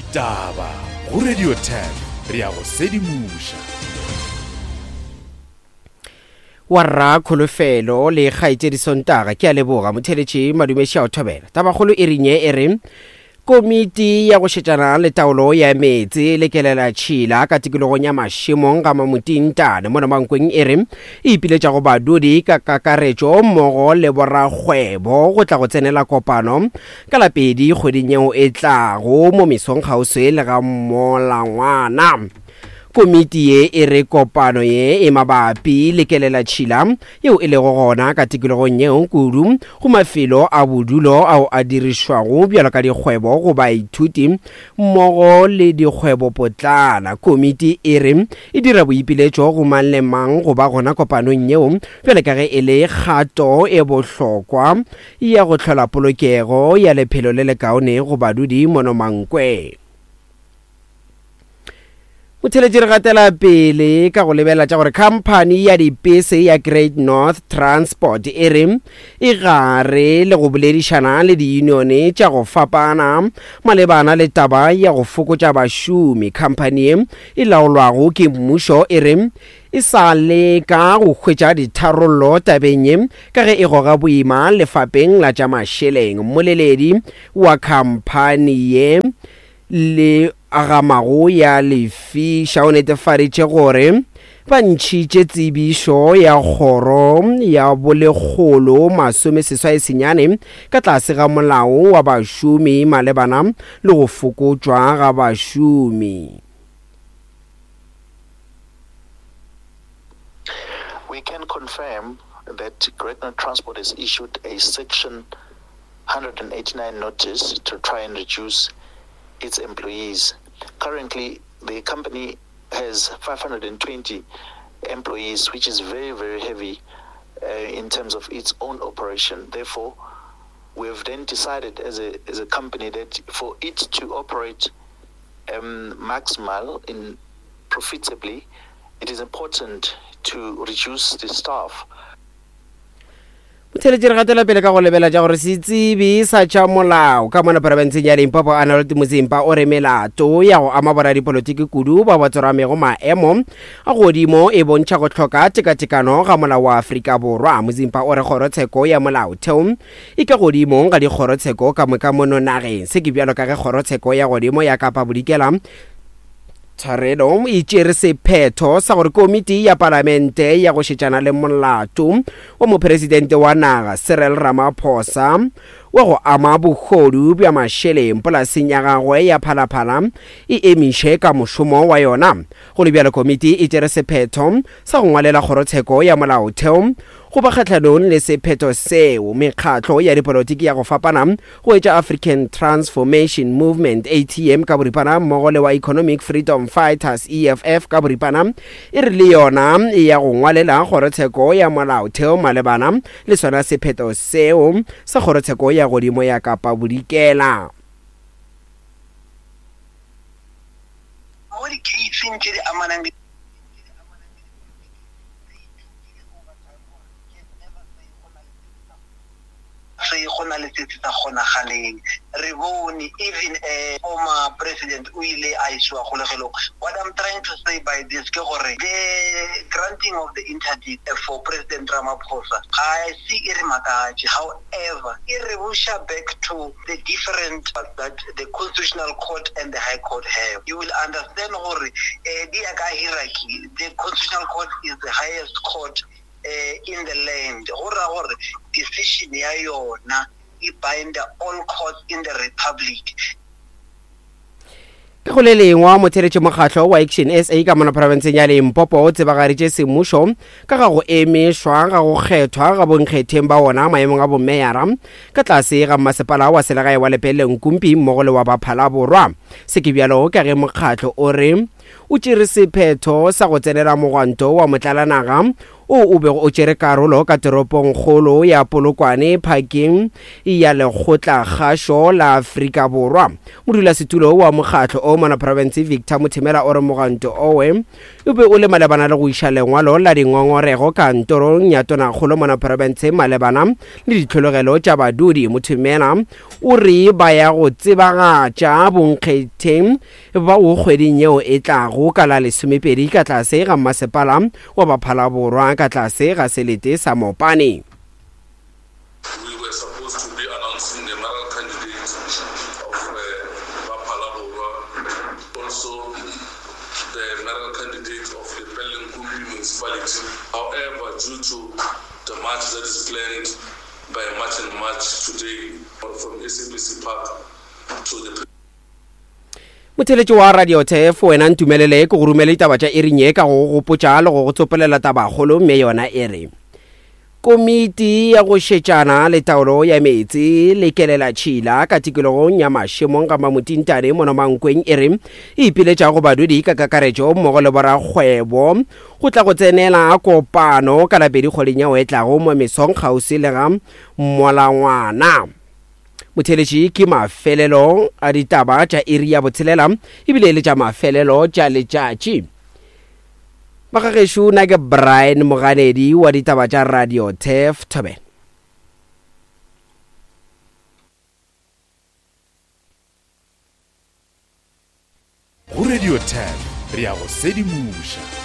Ditaba go Radio 10 re a go sedimoša. Warra Kholofelo le kgaetšedi Sontaga ke a leboga motheletši madumeši a o thobela. Tabakgolo e rinye e re Komiti ya go šetšana le taolo ya meetse le kelela tšhila ka tikologong ya mašemong ga Mamutintane mono Mankweng e re e ipiletša go badudi ka kakaretšo mmogo le borakgwebo go tla go tsenela kopano ka la pedi kgweding yeo e tlago mo mesong kgauswi le ga Molangwana. Komiti ye e re kopano ye e mabapi le kelelatšhila yeo e lego gona ka tikologong yeo kudu go mafelo a bodulo ao a dirišwago bjalo ka dikgwebo go baithuti mmogo le dikgwebopotlana. Komiti e re e dira boipiletšo go mang le mang go ba gona kopanong yeo bjalo ka ge e le kgato e bohlokwa ya go hlola polokego ya lephelo le lekaone go badudi mono Mankwe. Motheletši re gatela pele ka go lebelela tša gore khamphani ya dipese ya Great North Transport e re e gare le go boledišana le diyunione tša go fapana malebana le taba ya go fokotša bašomi. Khamphani ye e laolwago ke mmušo e re e sa leka go hwetša ditharollo tabeng ye ka ge e goga boima lefapeng la tša mašeleng. Mmoleledi wa khamphani ye le agamago ya lefiša o netefaditše gore ba ntšhitše tsebišo ya kgoro ya bolekgolo masomeseswai senyane ka tlase ga molao wa bašomi malebana le go fokotšwa ga bašomi. We can confirm that Great North Transport has issued a section 189 notice to try and reduce its employees. Currently, the company has 520 employees, which is very, very heavy uh, in terms of its own operation. Therefore, we have then decided as a, as a company that for it to operate um, maximal in profitably, it is important to reduce the staff. Motheletši re gatela pele ka go lebela tša gore setsebi sa tša molao ka mona porofenseng ya Limpopo Arnold Muzimba o re melato ya go ama boradipolotiki kudu ba ba tsoramego maemo a godimo e bontšha go hloka tekatekano ga molao wa Afrika Borwa. Muzimba o re kgorotsheko ya molaotheo e ka godimo ga dikgorotsheko ka moka mono nageng. Se ke bjalo ka ge kgorotsheko ya godimo ya Kapa Bodikela Tshwarelo e tšere sephetho sa gore komiti ya palamente ya go šetšana le molato wa mopresidente wa naga Cyril Ramaphosa wa go ama bohodu bja mašeleng polaseng ya gagwe ya Phalaphala e emiše ka mošomo wa yona. Go le bjalo komiti e tšere sephetho sa go ngwalela kgorotsheko ya molaotheo go ba kgahlanong le sephetho seo. Mekgatlo ya dipolotiki ya go fapana go etša African Transformation Movement, ATM, ka boripana mmogo le wa Economic Freedom Fighters, EFF, ka boripana, e re le yona e ya go ngwalela kgorotsheko ya molaotheo malebana le sona sephetho seo sa kgorotsheko ya godimo ya Kapa Bodikela. Mo dikheising tše di amanang le Se go na le se se sa kgonagaleng. Re bone even a former president o ile a isiwa kgolegelong. What I'm trying to say by this ke gore the granting of the interdict for President Ramaphosa ga se e re makatše. However, e re buša back to the different that the Constitutional Court and the High Court have. You will understand gore di ya ka hierarchy. The Constitutional Court is the highest court in the land, go ra gore decision ya yona e binda all courts in the republic. Ka go le lengwe, motheeletši mokgatlo wa Action SA ka mona profenseng ya Limpopo o tsebagaditše semmušo ka ga go emišwa ga go kgethwa ga bonkgetheng ba wona maemong a bomeyara ka tlase ga mmasepala wa selegae wa Lepelle Nkumpi mmogo le wa Baphala-Borwa. Se ke bjalo ka ge mokgatlo o re o tšere sephetho sa go tsenela mogwanto wa motlalanaga wo o bego o tšere karolo ka toropongkgolo ya Polokwane phakeng ya Lekgotlakgašo la Afrika Borwa. Modulasetulo wa mokgatlo o mona profense Victor Mothemela o re mogwanto owe o be o le malebana le go iša lengwalo la dingongorego kantorong ya tonakgolo mona profense malebana le ditlhologelo tša badudi. Mothemela o re ba ya go tsebagatša bonkgetheng bao kgweding yeo e tlago ka la lesomepedi ka tlase ga mmasepala wa Baphalaborwa ka tlase ga selete sa Mopane. We were supposed to be announcing the mayoral candidate of Baphalaborwa, also the mayoral candidate of Lepelle Nkumpi municipality. However, due to the march that is planned by March and March today from SABC Park to the Motheeletši wa Radio Turf, wena ntumelele ke go romele ditaba tša iring ye ka go go gopotša le go go tsopolela tabakgolo mme yona e re Komiti ya go šetšana le taolo ya meetse le kelelatšhila ka tikologong ya Mašemong ga Mamotintane mono Mankweng e re e ipiletša go badudi ka kakaretšo mmogo le borakgwebo go tla go tsenela kopano ka Labedi kgweding yeo e tlago mo mesong kgauswi le ga Molangwana. Motheeletši ke mafelelo a ditaba tša iri ya botshelela ebile e le tša mafelelo tša letšatši. Magagešo na ke Brian Moganedi wa ditaba tša Radio Turf Thobela. Go Radio Turf re ya go sedimoša.